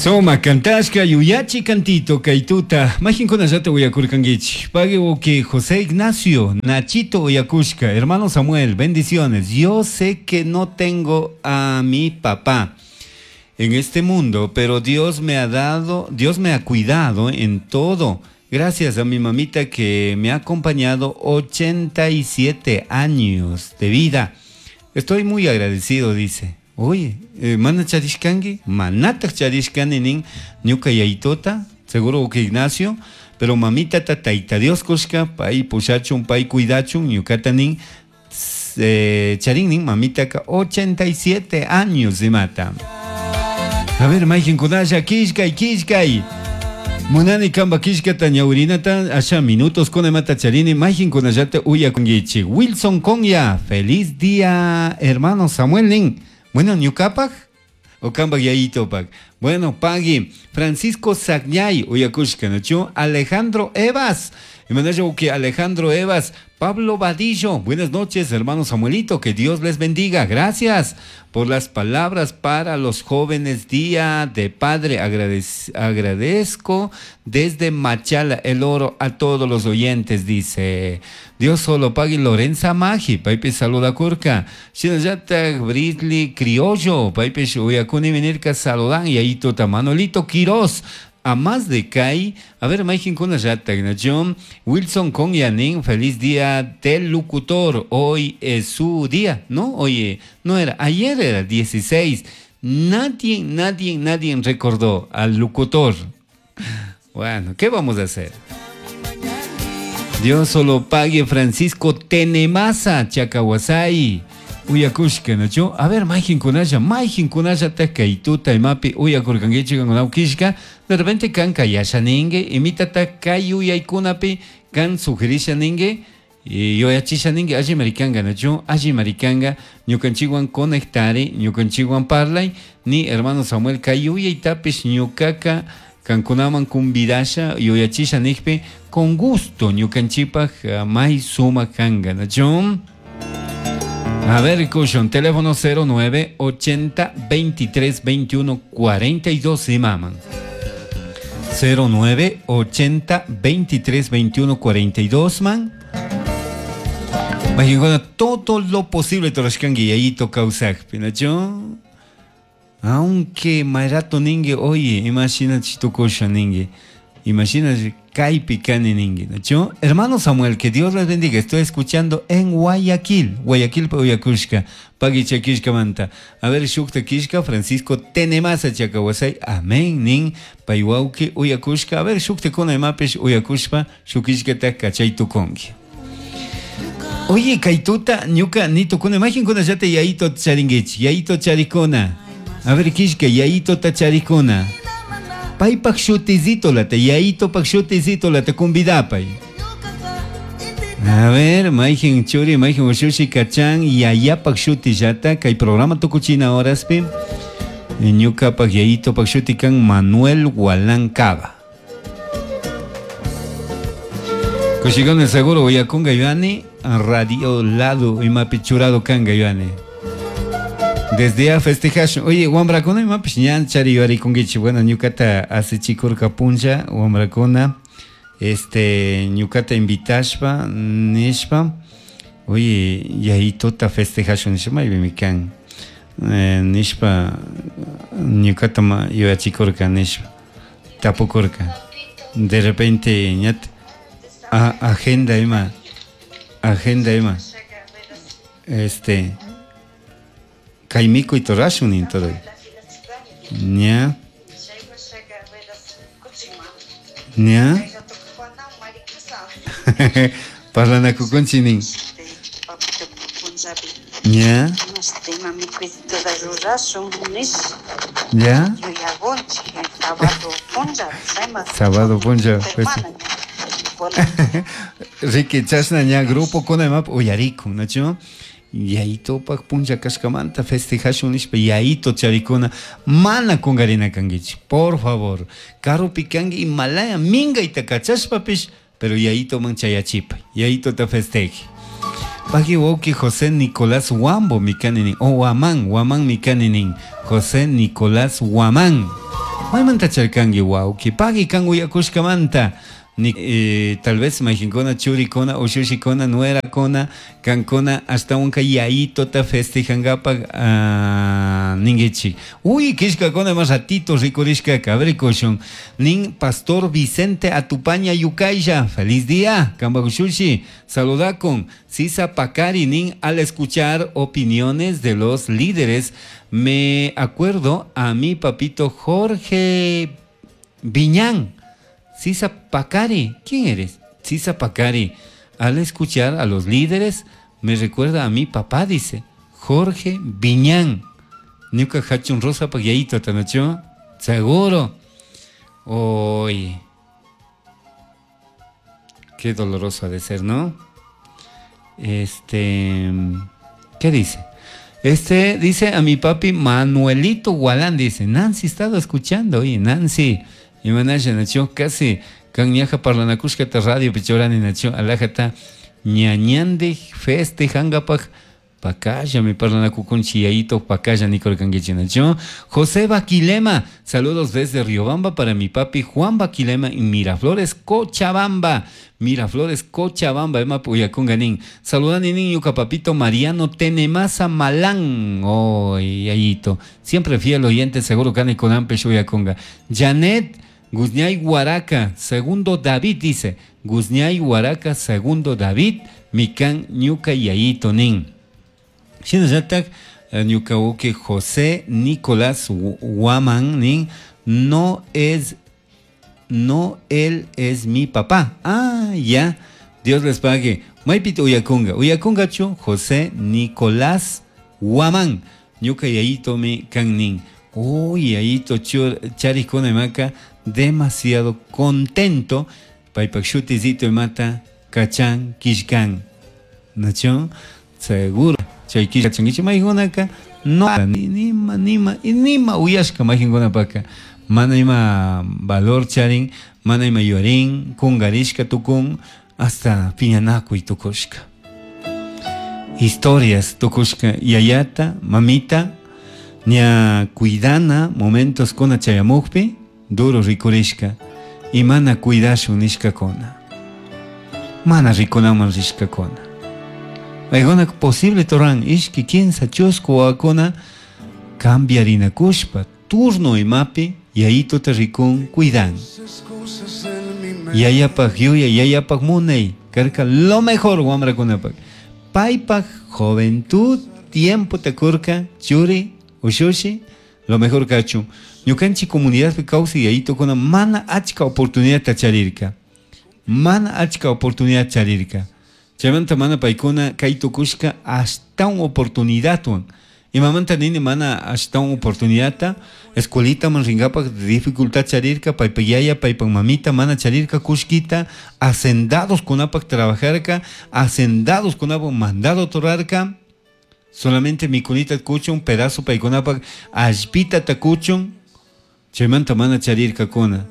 Suma cantashka yuyachi cantito kaytuta mayqinkunallata uyakurkankichik. Pagui wawqi José Ignacio Nachito uyakushka. Hermano Samuel, bendiciones. Yo sé que no tengo a mi papá en este mundo, pero Dios me ha dado, Dios me ha cuidado en todo. Gracias a mi mamita que me ha acompañado 87 años de vida. Estoy muy agradecido, dice. Oye, mana charishkanki, manataj charishkani nin ñuka yayitota, seguro que Ignacio, pero mamita ta tayta Dios kushka, pay pushachun, pay cuidachun, ñukata nin, charin nin mamitaka 87 años imata. A ver, mayqinkunalla killkay, killkay. Munani kamba killkata ñawirinata asha minutos kuna imata charini mayqinkunallata uyakunkichik. Wilson Konya, feliz día, hermano Samuel nin. Bueno, ñukapak o kambak yayitopak. Bueno, pagui. Francisco Sagñay, uyakushka, ¿no? Alejandro Evas. Imanalla que Alejandro Evas. Pablo Vadillo, buenas noches, hermano Samuelito, que Dios les bendiga. Gracias por las palabras para los jóvenes. Día de Padre, agradezco desde Machala el Oro a todos los oyentes, dice. Dios solo pague Lorenza Magi, paypi saluda kurka. Shinallata Britli Criollo, paypi uyakuni venirka saludan, y ahí tota Manolito Quiroz. A más de Kai, a ver, mayqinkunallata, John Wilson con Yanin, feliz día del locutor. Hoy es su día, ¿no? Oye, no era, ayer era 16. Nadie, nadie, nadie recordó al locutor. Bueno, ¿qué vamos a hacer? Dios solo pague Francisco Tenemasa, Chacahuasay. Uyakushka, ¿no? A ver, mayqinkunalla, mayqinkunalla kaytuta imapi uyakurkankichik kankunawkishka, de repente kan kayasha ninki, imitata kay yuyaykunapi kan sugerisha ninki, y yuyachisha ninki, alli marikanga, ¿no? Alli marikanga, ñukanchikwan conectari, ñukanchikwan parlay, ni hermano Samuel kay yuyaytapish ñukaka kankunaman kumbidasha, yuyachisha nikpi, con gusto ñukanchikpak may sumak kanka, ¿no? A ver, Cushon, teléfono 09 80 23 21 42 y maman. 09 80 23 21 42, man. Imagínate, todo lo posible, Torashkangi, y ahí toca usar, ¿no? Aunque Mairato ningue, oye, imagina chitokosha ningue. Imagina kaypi kani ningue, ¿no? Hermano Samuel, que Dios les bendiga. Estoy escuchando en Guayaquil. Guayaquil, Uyakushka. Pagui chakishka manta. A ver, shukta kishka, Francisco Tenemasa chakawasay. Amén, nin. Paiwauki, Uyakushka. A ver, shukta kuna imapish, Uyakushpa, shukishka ta kachay tukongi. Oye, kaituta, ñuka, ni tukuna. Imagin kuna yate yaito charinguich. Yaito charikuna. A ver, kishka, yaito ta charikuna. Paypak shutizito lata, yaito pak shutizito lata, kumbidapay. A ver, mayqin churi, mayqin ushushi kachan, yayapak shutillata, kay programa tukuchina horaspi, ñukapak yaito pak shuti kan Manuel Hualancaba. Kushikon el seguro uyakunga yuani, radio lado imapi churado kanga yuani. Desde ya festejash. Oye, wambrakuna imapish ñan chari yuarikunkichik. Bueno, ñukata asichikurka punlla, wambrakuna, ñukata invitashpa, nishpa, oye, yayitota festejashun nishpa, maypimi kan. Nishpa, ñukata ma yuyachikurka nishpa, tapukurka. De repente, ñat, agenda ima, agenda ima, Kaimiko y Torashun ni todo. Ña. Ña. Parlanakukunchi nin. Ña. Ya. Sábado punlla, pues. Ricky chashna ña grupo kuna imap uyarikun, ¿no? Yayitopak punlla kashkamanta festejashun nishpa yayito charikuna mana kungarina kankichik, por favor. Karupi kanki imalaya minkayta kachashpapish, pero yayitoman chayachipay, yayitota festeje. Pagui wawki José Nicolás Huambo mikani nin, o Huamán, Huamán mikani nin, José Nicolás Huamán. Maymanta charkanki wawki, pagui kan uyakushkamanta. Ni, tal vez mayqinkuna churikuna, ushushikuna, nuerakuna, kankuna ashtawanka yayitota festejankapaq ninkichik. Uy, killkakuna ima ratito rikurishkaka, a ver rikushun. Nin Pastor Vicente Atupaña Yukaylla, feliz día, kanpak ushushi, saludakun. Sisa Pacari nin, al escuchar opiniones de los líderes, me acuerdo a mi papito Jorge Viñán. Sisa Pacari, ¿quién eres? Sisa Pacari, al escuchar a los líderes, me recuerda a mi papá, dice, Jorge Viñán. Ñuka hachun rosa pak yayito tanachu, seguro. Oy, qué doloroso ha de ser, ¿no? Este, ¿qué dice? Este dice a mi papi Manuelito Gualán, dice, Nancy, he estado escuchando, oye, Nancy, y manasha nacho, casi, kan ñaja parlanakushkata radio pichorani nacho, alajata ñañande festejangapak pakalla mi parlanakukunchi yayito pakalla nikurkankichi nacho. José Baquilema, saludos desde Riobamba para mi papi Juan Baquilema en Miraflores, Cochabamba. Miraflores, Cochabamba, ema puyakunganin. Saludani nin ñuka papito Mariano Tenemasa Malán. Oh, yayito. Siempre fiel oyente, seguro kani konampe shuyakunga. Janet Guzñay Huaraca, segundo David, dice. Guzñay Huaraca, segundo David, mikan ñuka yayito nin. Shinallatak ñuka uke José Nicolás Guaman nin, no es, no él es mi papá. Ah, ya, Dios les pague. Maypita uyakunga, uyakungachu José Nicolás Guaman, ñuka yayito mi kan nin. Uy, yayito charikuna imaka, demasiado contento. Paypak shutizito imata, kachan, kishkan. ¿Nacho? Seguro. Chay kishka maykunaka, no, nima, nima, nima uyashka maykunapaka. Mana ima valor charin, mana ima yuarin, kungarishka tukun, hasta piñanakuy tukushka. Historias tukushka, yayata, mamita, ña cuidana momentos kuna chayamukpi, duro rikurishka, y mana cuidashun nishkakuna. Mana rikunaman rishkakuna. Paykuna posible toran ishki kinsa chusku wawakuna cambiarinakushpa turno imapi yayituta rikun cuidan. Yayapak yuya, yayapak munay, karka lo mejor wamrakunapak. Paypak juventud, tiempo takurka, churi, ushushi, lo mejor kachun. Ñukanchik comunidadpi kawsay yayitukuna mana achka oportunidad charirka. Mana achka oportunidad charirka. Chaymanta mana paykuna kay tukushka ashtawan oportunidadwan. Imamanta nini mana ashtawan oportunidadta, escuelitaman rinkapak dificultad charirka, paypak yaya, paypak mamita mana charirka kushkita, hacendados kunapak trabajarka, hacendados kunapak mandado torarka, solamente mikunita kuchun, pedazo paykunapak allpita takuchun, chaymanta mana charirkakuna.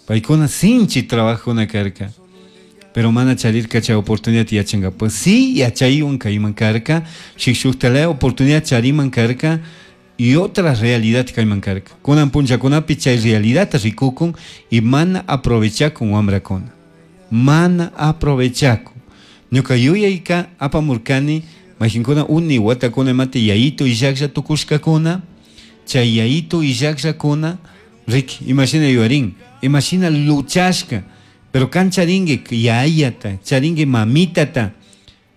Paykuna sinchi trabajuna karka. Pero mana charirka chay oportunidad yachanka. Pues sí, yachaywan kayman karka, shuk oportunidad chariman karka, y otra realidad kayman karka. Kunan punchakunapi chay realidad rikukun y mana aprovechakun wamrakuna. Mana aprovechakun. Ñuka yuyayka apamurkani, mayqinkuna uni watakuna imata yayito illaklla tukushkakuna, chay yayito illakllakuna, riki, imashina yuyarin, imashina luchashka, pero kan charingue yayata, charingue mamitata,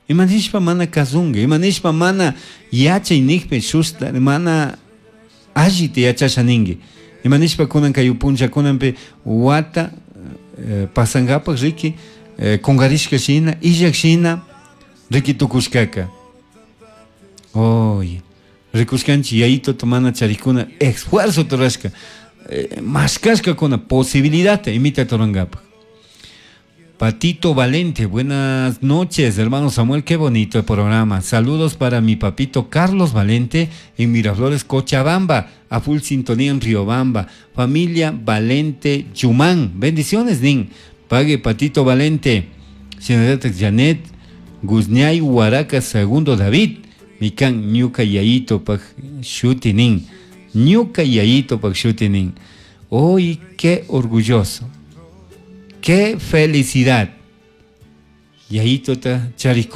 imanishpa mana kasunga, imanishpa mana yachay nikpi shusta, mana allita yachasha ningue, imanishpa kunan kay puncha kunanpi wata pasangapak riki, kungarishka shina, illak shina, riki tukushkaka. Oye, rikushkanchik yayito mana charikuna esfuerzo turashka, mashkashkakuna posibilidad imita turangapak. Patito Valente, buenas noches, hermano Samuel, qué bonito el programa. Saludos para mi papito Carlos Valente en Miraflores, Cochabamba, a full sintonía en Riobamba. Familia Valente Yumán, bendiciones, Nin. Pague Patito Valente. Señorita Janet Guzñay Huaraca, segundo David. Mikan ñuka yayito pak shutinin. Ñuka yayito pak shutinin. Hoy qué orgulloso, qué felicidad. Yayitota charikuni.